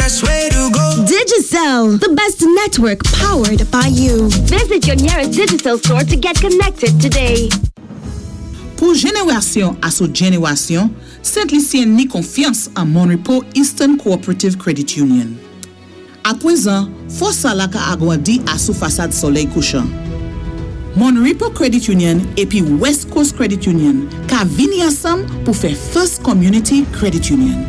Best way to go. Digicel, the best network powered by you. Visit your nearest Digicel store to get connected today. Pou jenerasyon asou jenerasyon, Sent Lisyen ni konfyans an Mon Repos Eastern Cooperative Credit Union. Apwézan, fòs sa la ka agwandi asou fasad Solèy Kouchan. Mon Repos Credit Union épi West Coast Credit Union ka vini ansanm pou fè First Community Credit Union.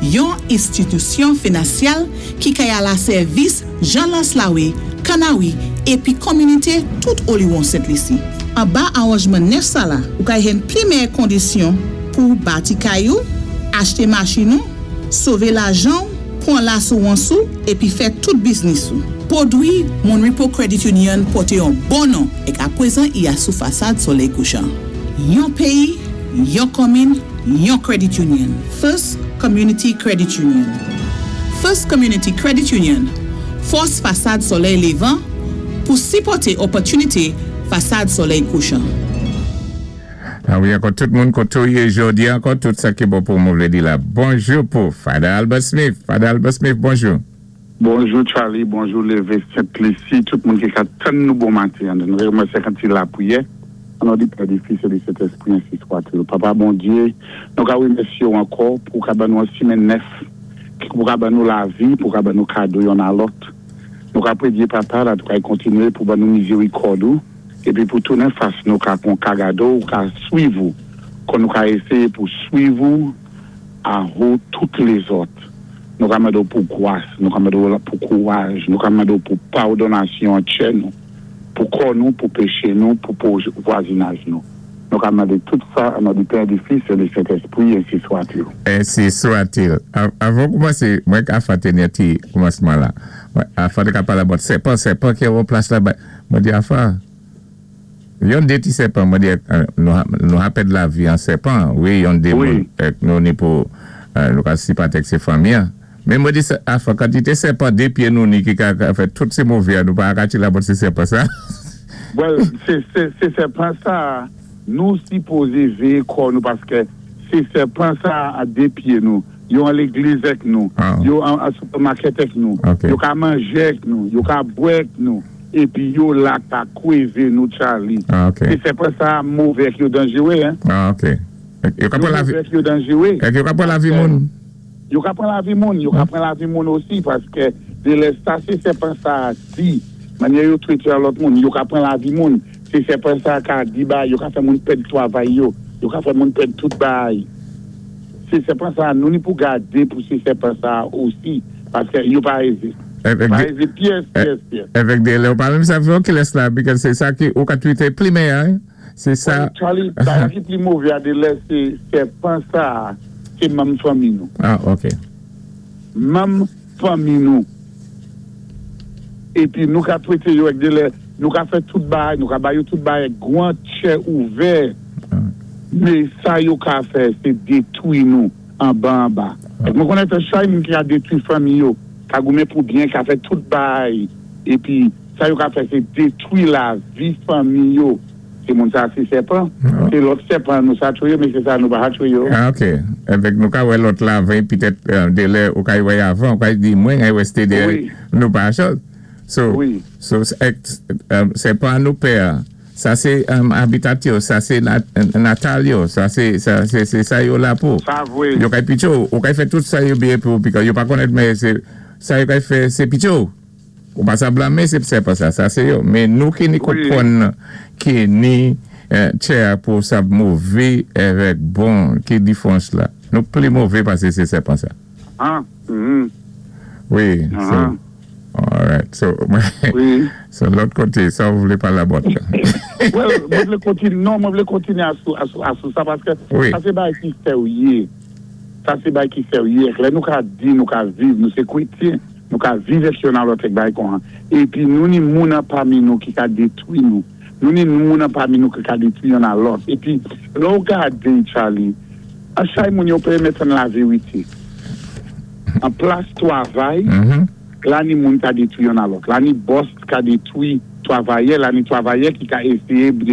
Yon enstitisyon finansyal ki kay ala sèvis Jean Laslawe, Kanawi épi kominité tout oliwon Sent Lisi. Anba awanjman nèf sa la, ou kay jwenn pli mèyè kondisyon pou bati kay ou, achté machin ou, sové lajan ou, pwan lasirans ou, épi fè tout biznis ou. Pwodwi Mon Repos Credit Union pòté yon bon non èk apwézan i asou fasad Solèy Kouchan. Yon péyi, yon komin, yon credit union. First Community Credit Union. First Community Credit Union, fòs fasad Solèy Lévan pou sipòté opòtinité fasad Solèy Kouchan. A wi, ankò tout moun koté ou yé jòdi, ankò tout sa ki bon pou mwen vlé di la. Bonjou pou Father Albert Smith. Father Albert Smith, bonjou. Bonjou Charlie, bonjou Lévé Sent-Lisi, tout moun ki ka tann nou bon maten. Nou rémèsyé kan ti lapriyè. An non di Pè, di Fis é di Sentèspri, ensi swa-t-il. Papa Bondyé, nou ka rémèsyé ou ankò pou ka ban nou yon simenn nèf, pou ka ban nou lavi, pou ka ban nou kado yonn a lòt. Nou ka prédyé Papa, la tou ka kontinué pou ban nou mizérikòd ou, épi pou tounen fas nou ka kon ka gadé ou ka swiv ou, kon nou ka éséyé pou swiv ou ahou tout lézòt. Nou ka mandé ou pou gwas, nou ka mandé ou pou kouwaj, nou ka mandé ou pou pawdonnasyon an tchè nou, pou kò nou, pou péché nou, pou vwazinaj nou. Nou ka mandé tout sa an non di Pè, di Fis é di Sentèspri, ensi swa-t-il. Ensi swa-t-il. Avan koumansé, mwen ka fè téni ti koumansman la. Afa té ka palé about sèpan, sèpan ki an plas la. Mwen di afa, yon dé ti sèpan, mwen di nou ha pèd lavi an sèpan, wi, yon dé moun, nou ni pou nou ka sipatè sé fanmi an. Men mwen di afa, kantité sèpan dé pyé nou ni ki ka fè tout sé mové an, nou pa ka la about sé sèpan sa. Well, sé sèpan sa, nou sipozé véyé kò nou paské sé sèpan sa a dé pyé nou. Yo an légliz èk nou, yo an supermarket èk nou, yo ka manjé èk nou, yo ka bwè èk nou, épi yo la ka kwévé nou, Charlie. Sé sèpan sa mové èk yo danjéwé, hein? Ah, ok. Yo ka pwan lavi. Yo mové èk yo danjéwé. Èk yo ka pwan lavi moun. Yo ka pwan lavi moun, yo ka pwan lavi moun osi, paské dé lè sa sé sèpan sa di, mannyè yo twété a lòt moun, yo ka pwan lavi moun, sé sèpan sa ka di ba, yo ka fè moun pèd twavay yo, yo ka fè moun pèd tout bagay. Sé sèpan sa, nou ni pou gadé pou sé sèpan sa osi, paské yo pa ézé. Pa ézé pyès, pyès, pyès. Évèk dé lè ou pa menm sa fè kilès la, because sé sa ki ou ka twité pli mèyè, sé sa. Charlie, bagay ki pli mové a dé lè sé sèpan sa, sé manm fanmi nou. Ah, ok. Manm fanmi nou. Épi nou ka twété yo èk dé lè, nou ka fè tout bagay, nou ka ba yo tout bagay èk gwan tchè ouvè. Mé sa yo ka fè sé détwi nou anba anba. Èk mwen konnèt chay moun ki ka détwi fanmi yo, ka goumen pou byen, ka fè tout bagay, épi sa yo ka fè sé détwi lavi fanmi yo. Sé moun sa sé sèpan, sé lòt sèpan nou sa tchwé yo, mé sé sa nou pa ha tchwé yo. Ah, ok. Évèk nou ka wè lòt la avan, pitèt dé lè ou ka wè avan, ou ka di mwen ay wè sté dé nou pa chòz. So, sèpan nou pè, sa sé habitat yo, sa sé natal yo, sa sé sa yo la pou. Sa vwé. Yo kay pitché ou, ou kay fè tout sa yo byen pou, because yo pa konnèt mé sé sa yo kay fè sé pitché ou. Ou pa sa blamé sé sèpan sa, sa sé yo. Mé nou ki ni konpwann ki ni tchè pou sa mové avèk bon ki difwans la. Nou pli mové pasé sé sèpan sa. Wi, so, alright. So, so lòt koté, sa ou vlé pala about la? Well, mwen vlé kontini, non, mwen vlé kontini asou sa paské sa sé bagay ki sèwyé. Sa sé bagay ki sèwyé. Lè nou ka di, nou ka viv, nou sé kwétyen. Nou ka viv èk yonn a lòt èk bagay kon an. Épi nou ni moun an pami nou ki ka détwi nou. Nou ni moun an pami nou ki ka détwi yonn a lòt. Épi lè ou gadé Charlie, an chay moun yo pé mèt an lavérité. An plas twavay, la ni moun ka détwi yonn a lòt. La ni boss ka détwi twavayè, la ni twavayè ki ka éséyé.